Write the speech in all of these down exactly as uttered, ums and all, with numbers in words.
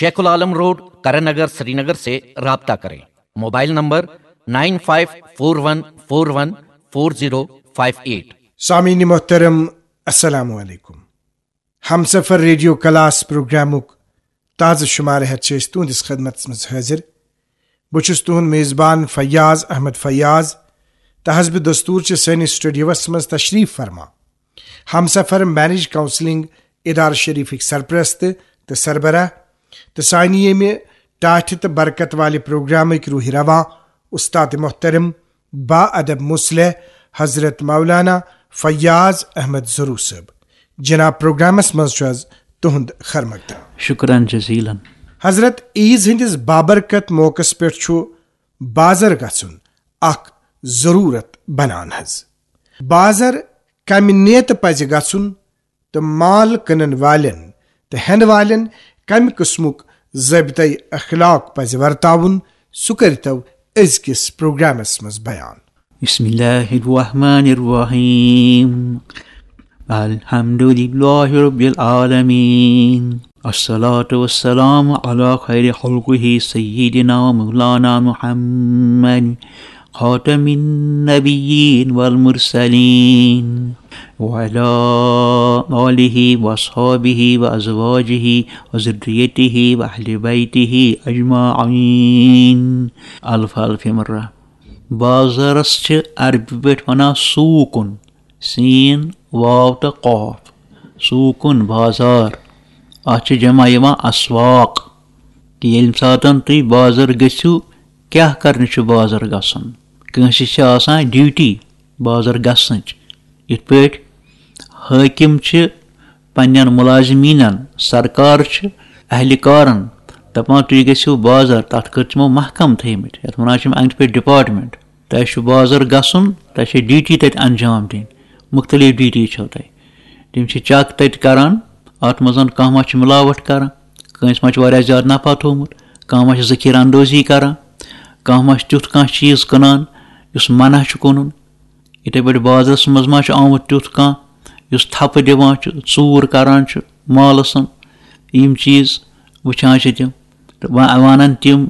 شیخ العالم road, Karan Nagar, Srinagar سے رابطہ کریں۔ Mobile number nine five four one four one four zero five eight. سامعین محترم، السلام علیکم۔ ہمسفر ریڈیو کلاس پروگرامُک تازٕ شمارٕ ہٮ۪تھ چھِ أسۍ تُہنٛدِس خدمتس منٛز حٲضِر۔ بہٕ چھُس تُہنٛد میزبان فیاض احمد فیاض۔ تہٕ حسب دستور چھِ سٲنِس سٹوڈیوس منٛز تشریف فرما ہمسفر مینج کاؤنسلنگ ادارٕ شریفٕکۍ سرپرست تہٕ سربراہ تہٕ سانہِ ییٚمہِ ٹاٹھہِ تہٕ برکت والہِ پروگرامٕکۍ روحِ رواں استاد محترم با ادب مصلح حضرت مولانا فیاض احمد ضروٗ صٲب۔ جناب، پروگرامس منٛز چھُ از تُہنٛد خیر مقدم۔ شکرن جزیلن۔ حضرت، عیز ہٕنٛدِس بابرکت موقعس پٮ۪ٹھ چھُ بازر گژھُن اکھ ضروٗرت بنان حظ۔ بازر کمہِ نیتہٕ پزِ گژھُن تہٕ مال کٕنن والٮ۪ن تہٕ ہٮ۪نہٕ والٮ۪ن کمہِ قٕسمُک ضٲبطہٕ اخلاق پزِ ورتاوُن، سُہ کٔرۍتو أزکِس پروگرامس منٛز بیان۔ بسم الله الرحمن الرحيم. الحمد لله رب العالمين. الصلاة والسلام على خير خلقه سيدنا ومولانا محمد خاتم النبيين والمرسلين وعلى آله وأصحابه وأزواجه وذريته وأهل بيته أجمعين. الف الف مرة. بازرس چھِ عربی پٲٹھۍ ونان سوقن، سین، واو تہٕ قاف۔ سوقن، بازار۔ اتھ چھِ جمع یِوان اسواق۔ کہِ ییٚلہِ ساتن تُہۍ بازر گٔژھِو، کیٛاہ کرنہِ چھُ بازر گژھُن؟ کٲنٛسہِ چھِ آسان ڈیوٹی بازر گژھنٕچ۔ یِتھ پٲٹھۍ حٲکِم چھِ پننٮ۪ن مُلازمیٖنن، سرکار چھِ اہلکارن دپان، تُہۍ گٔژھِو بازر، تتھ خٲطرٕ چھِ تِمو محکم تھٲومٕتۍ، یتھ ونان چھِ یِم انٛدۍ پٔکۍ ڈپارٹمنٹ۔ تۄہہِ چھُ بازر گژھُن، تۄہہِ چھِ ڈیوٹی تتہِ انجام دِنۍ، مُختٔلِف ڈیوٹی چھو تۄہہِ۔ تِم چھِ چیک تتہِ کران، اتھ منٛز کانٛہہ ما چھُ ملاوٹ کران، کٲنٛسہِ ما چھُ واریاہ زیادٕ نفع تھوٚومُت، کانٛہہ ما چھُ ذخیرٕ اندوزی کران، کانٛہہ ما چھُ تیُتھ کانٛہہ چیٖز کٕنان یُس منع چھُ کٕنُن۔ یِتھے پٲٹھۍ بازرس منٛز ما چھُ آمُت تیُتھ کانٛہہ یُس تھپہٕ دِوان چھُ، ژوٗر کران چھُ مالس۔ یِم چیٖز وٕچھان چھِ تِم تہٕ وَ-، وَنان تِم،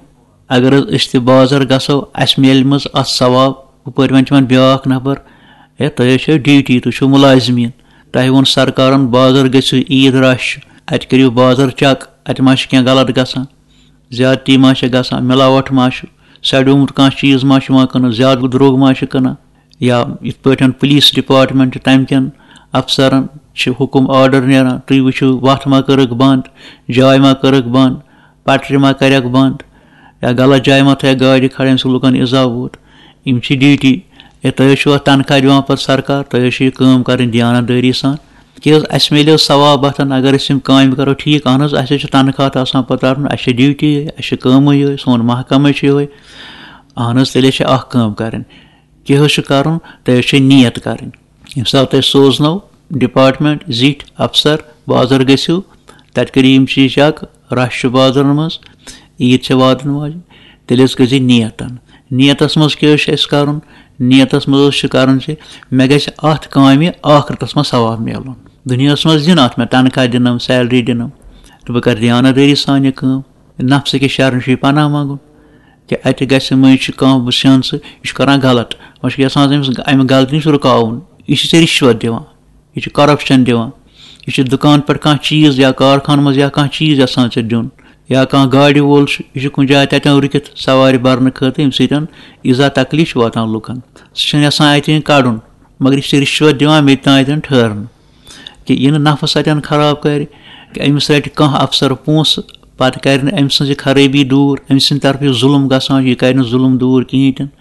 اگر حظ أسۍ تہِ بازر گژھو، اَسہِ میلہِ منٛز اَتھ ثواب۔ ہُپٲرۍ وۄنۍ چھِ وَنان بیٛاکھ نفر، ہے، تۄہہِ حظ چھو ڈیوٹی، تُہۍ چھِو مُلازمیٖن، تۄہہِ ووٚن سرکارن بازر گٔژھِو، عیٖد رش چھُ، اَتہِ کٔرِو بازر چیک، اَتہِ ما چھُ کینٛہہ غلط گژھان، زیادتی ما چھِ گژھان، مِلاوٹھ ما چھُ، سڑیومُت کانٛہہ چیٖز ما چھُ یِوان کٕننہٕ، زیادٕ درٛوگ ما چھُ کٕنان۔ یا یِتھ پٲٹھۍ پُلیٖس ڈپارٹمنٹ چھُ، تَمہِ کٮ۪ن افسرن چھِ حُکُم، آرڈر نیران، تُہۍ وٕچھِو، وَتھ ما کٔرٕکھ بنٛد، جاے ما کٔرٕکھ بنٛد، پٹرِ ما کَرٮ۪کھ بنٛد، یا غلط جایہِ ما تھایَکھ گاڑِ کھڑا، ییٚمہِ سۭتۍ لُکن ایزا ووت۔ یِم چھِ ڈیوٹی۔ یا تۄہہِ حظ چھُو اَتھ تنخواہ دِوان پَتہٕ سرکار، تۄہہِ حظ چھُ یہِ کٲم کَرٕنۍ دیانت دٲری سان۔ کیٛاہ حظ، اَسہِ میلیو ثواب اَتھن اگر أسۍ یِم کامہِ کَرو ٹھیٖک۔ اَہن حظ، اَسہِ حظ چھُ تنخواہ تہٕ آسان پَتہٕ رَٹُن، اَسہِ چھِ ڈیوٹی یِہوٚے، اَسہِ چھِ کٲمٕے یِہوٚے، سون محکمہٕ چھُ یِہوٚے۔ اَہن حظ، تیٚلہِ حظ چھِ اَکھ کٲم کَرٕنۍ۔ کیٛاہ حظ چھُ کَرُن؟ تۄہہِ حظ چھِ نیت کَرٕنۍ۔ ییٚمہِ ساتہٕ تۄہہِ سوزنو ڈپارٹمنٹ زِٹھۍ افسر بازر گٔژھِو، تَتہِ کٔرِو یِم چیٖز چیک، رش چھُ بازرن منٛز، عیٖد چھِ واتن واجِنۍ، تیٚلہِ حظ کٔرۍ زِ نیتن۔ نیتس منٛز کیٛاہ حظ چھُ اَسہِ کَرُن؟ نیتس منٛز حظ چھُ کَرُن زِ مےٚ گژھِ اَتھ کامہِ ٲخرتس منٛز ثواب میلُن۔ دُنیاہس منٛز دِن اَتھ مےٚ تنخواہ دِنم، سیلری دِنم، تہٕ بہٕ کَرٕ دیانت دٲری سان یہِ کٲم۔ نفسہٕ کِس شرن چھُ یہِ پناہ منٛگُن۔ کہِ اَتہِ گژھِ مٔنٛزۍ چھُ کانٛہہ وٕچھان سُہ، یہِ چھُ کران غلط، وۄنۍ چھُ یَژھان أمِس اَمہِ غلطی نِش رُکاوُن، یہِ چھُ ژےٚ رِشوت دِوان، یہِ چھُ کرپشن دِوان، یہِ چھُ دُکان پٮ۪ٹھ کانٛہہ چیٖز یا کارخانہٕ منٛز یا کانٛہہ چیٖز یَژھان ژےٚ دیُن، یا کانٛہہ گاڑِ وول چھُ، یہِ چھُ کُنہِ جایہِ تَتٮ۪ن رُکِتھ سوارِ بَرنہٕ خٲطرٕ، ییٚمہِ سۭتۍ ایٖزا تکلیٖف چھُ واتان لُکن۔ سُہ چھُنہٕ یَژھان اَتہِ وۄنۍ کَڑُن، مگر یہِ چھُ ژےٚ رِشوت دِوان مےٚ تہِ تام اَتٮ۪ن ٹھٔہرنہٕ۔ کہِ یہِ نہٕ نفس اَتٮ۪ن خراب کرِ، کہِ أمِس رَٹہِ کانٛہہ افسر پونٛسہٕ، پتہٕ کرِ نہٕ أمۍ سٕنٛز یہِ خرٲبی دوٗر، أمۍ سٕنٛدِ طرفہٕ یہِ ظُلم گژھان چھُ، یہِ کرِ نہٕ ظُلم دوٗر کِہیٖنۍ تہِ نہٕ۔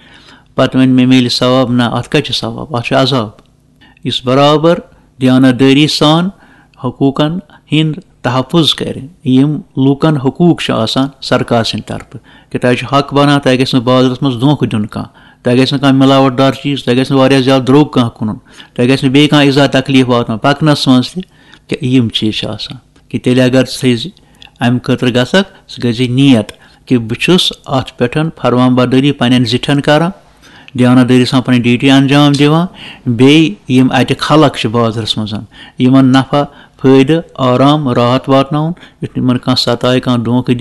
پتہٕ وَنہِ مےٚ میلہِ ثواب، نہ، اَتھ کَتہِ چھُ ثواب؟ اَتھ چھُ عذاب۔ یُس برابر دیانت دٲری سان حقوٗقن ہُنٛد تحفظ کرِ، یِم لوٗکن حقوٗق چھِ آسان سرکار سٕنٛدِ طرفہٕ، کہِ تۄہہِ چھُ حق بنان، تۄہہِ گژھِ نہٕ بازرس منٛز دھوکہٕ دیُن کانٛہہ، تۄہہِ گژھِ نہٕ کانٛہہ مِلاوٹ دار چیٖز، تۄہہِ گژھِ نہٕ واریاہ زیادٕ درٛوگ کانٛہہ کٕنُن، تۄہہِ گژھِ نہٕ بیٚیہِ کانٛہہ ایٖزا تکلیٖف واتُن پکنس منٛز تہِ، کہِ یِم چیٖز چھِ آسان۔ کہِ تیٚلہِ اگر ژٕ تھٲیزِ اَمہِ خٲطرٕ گژھکھ، ژٕ گٔژھزِ نیت کہِ بہٕ چھُس اَتھ پٮ۪ٹھ فرمان بردٲری پننٮ۪ن زِٹھٮ۪ن کران، دیانت دٲری سان پنٕنۍ ڈیوٹی انجام دِوان، بیٚیہِ یِم اَتہِ خلق چھِ بازرس منٛز، یِمن نفع، فٲیدٕ، آرام، راحت واتناوُن، یُتھ نہٕ یِمن کانٛہہ ستایہِ، کانٛہہ دھوکہٕ دی۔